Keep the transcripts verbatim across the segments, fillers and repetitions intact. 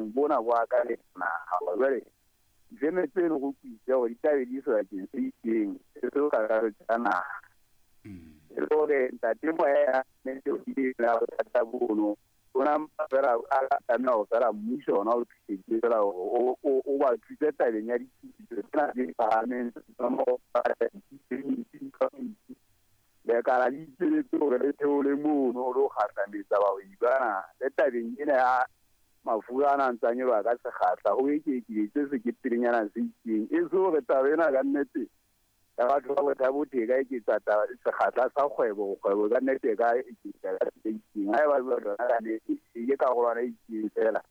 Bophirimeng bona bo akaretsa naha. Jwale difeme tseno go kwise hore di tlabe di sebakeng se itseng se seo kakaretso ya naha. E le hore ntate Moya nnete o ile la bothata bono ona mpa fela a tlameha ho fela mmuso ona o thusetse fela hore o o ba thuse tabeng ya dithuso tsena tse phahameng tsa mo lekala le itshebetse hore le theole mono ho lo kgahlametsa bahwebi bana le tabeng ena ya mafura ana a ntsa nyoloha ka sekgahla ho ekeketse sekepelenyana se itseng. E se hore taba ena ka nnete ya batho ba Botha-Bothe e ka eketsa taba sekgahla sa kgwebo, kgwebo ka nnete e ka eketsa ka se itseng. Haeba jwalo yona ka nnete e ke karolwana e itseng fela.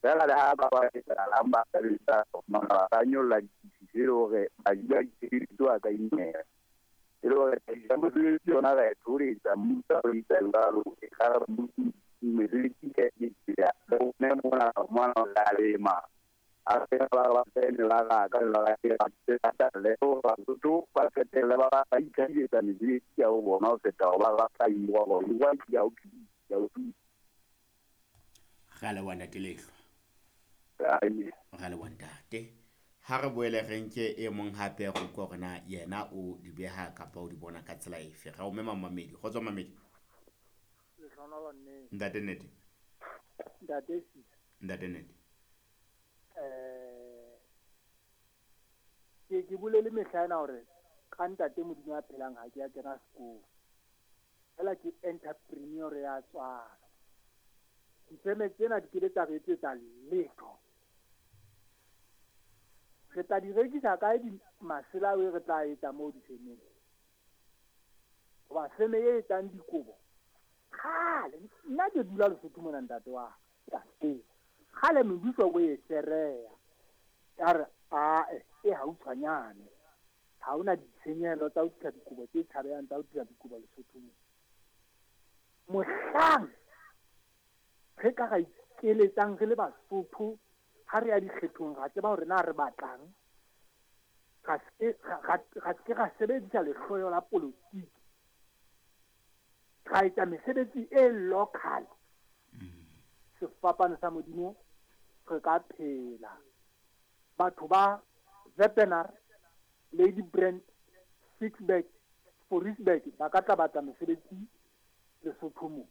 Fela le ha ba ba etsahalang ba sebetsa ba ka nyolla ditefiso e le hore badi ba ditshebeletso ba ka imela. E le hore tlhahiso ya mosebetsi yona ra e thoholetsa, mmuso o etsa jwalo, e ka re mesebetsi e eketseha. Le rona mona mona re a lema. A fela ba ba tsene ba raka ba ba le hore Basotho ba qetelle ba ba itlhahisetsa mesebetsi ya ho bona ho feta ho ba ba tla hirwa hore hirwa ke ya ho ya ho thusa. Re a leboha ntate Lehlwa. Re a leboha ntate. Ha re boele re nke e mong hape re utlwe hore na yena o di beha kapa o di bona ka tsela efe. Re o mema mamedi. Kgotso mamedi. Lehlohonolo nnete. Ntate nnete. Ntate Sisa. Ntate nnete. Eh ke ke bolele mehla ena hore ka ntate Modimo a phelang ha ke a kena sekolo. Fela ke entrepreneur ya tswalo. Difeme tsena di ke tsa re etsetsa letho. Re tla di rekisa kae di masela ao re tla etsa moo difemeng? Hoba feme e etsang dikobo kgale nna ke dula Lesotho mona ntate wa ka. Kgale mebuso o e sereya. Ya re ae e hautshwanyane. Ha hona ditshenyehelo tsa ho tlisa dikobo tse tshabehang tsa ho tlisa dikobo Lesotho mona. Mohlang re ka ra ikeletsang re le Basotho ha re ya dikgethong ra tseba hore na re batlang, ra se ra se ra sebedisa lehloyo la politiki, ra etsa mesebetsi e local. Sefapano sa Modimo re ka phela. Batho ba Wepener, Lady Brand, Sixburg, Fouriesburg ba ka tla batla mesebetsi Lesotho mo.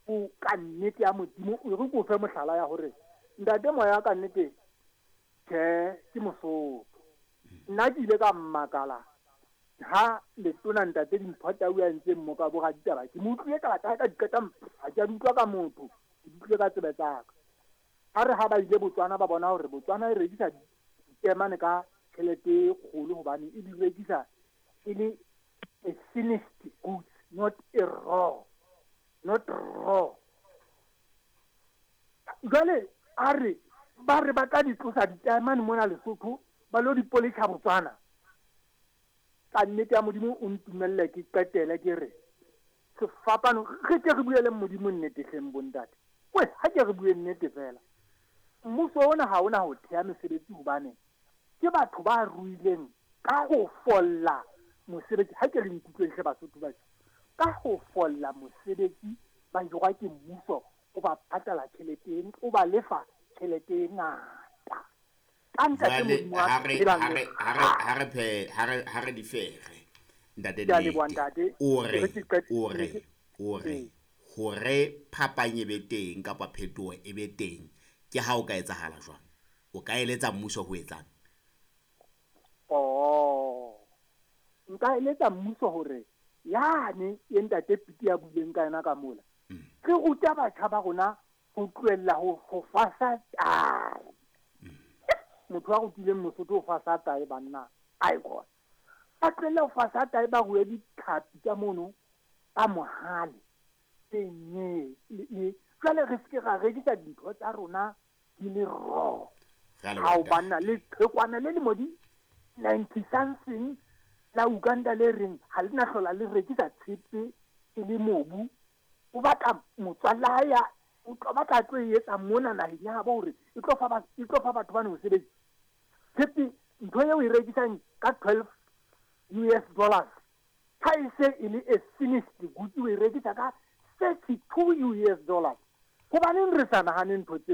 O ka nnete ya Modimo o re ko fe mohlala ya hore ntate Moya ka nnete tjhe ke Mosotho. Nna ke ile ka mmakala ha letona ntate Dimpho Tau a entseng mmoka bo raditaba. Ke mo utlwile taba tsa hae ka di qeta ha ke a di utlwa ka motho, ke di utlwile ka tsebe tsa ka. A re ha ba ile Botswana ba bona hore Botswana e rekisa ditaemane ka tjhelete e kgolo hobane e di rekisa e le a finished goods, not a raw, not raw. Jwale a re ba re ba tla di tlosa ditaemane mona Lesotho ba lo di polisha Botswana. Ka nnete ya Modimo o ntumelle ke qetele ke re sefapano re ke re buele Modimo nnete hleng bontate. We ha ke re bue nnete fela. Mmuso ona ha ona ho thea mesebetsi hobane ke batho ba ruileng ka ho folla mosebetsi. Ha ke le nkutlweng hle Basotho ba ka ho folla mosebetsi ba hirwa ke mmuso o ba patala tjhelete o ba lefa tjhelete e ngata. Ka ntate Modimo ha re ha re ha re phe ha re ha re di fere ntate nnete o re o re o re hore phapang e be teng kapa phetoho e be teng ke ha o ka etsahala jwang? O ka eletsa mmuso ho etsang? Oh, nka eletsa mmuso hore yane e ntate Piti a buileng ka yena ka mola re ruta batjha ba rona ho tlohella ho ho fasa tae. Motho a rutileng Mosotho ho fasa tae banna ai khona. Ba tlohelle ho fasa tae ba rue ditlhapi ka mono ka mohale tse nye le jwale re se ra rekisa dintho tsa rona di le raw. Ha o banna le qhekwana le lemo di ninety something la Uganda le reng ha le na hlola le rekisa tshepe e le mobu. O batla motswalla ya o tlo batla tlo e etsa mona naheng ya habo hore e tlo fa ba e tlo fa batho ba mosebetsi. Tshepe ntho eo e rekisang ka twelve U S dollars ha e se e le a finished goods o e rekisa ka thirty-two U S dollars. Hobaneng re sa nahane ntho tse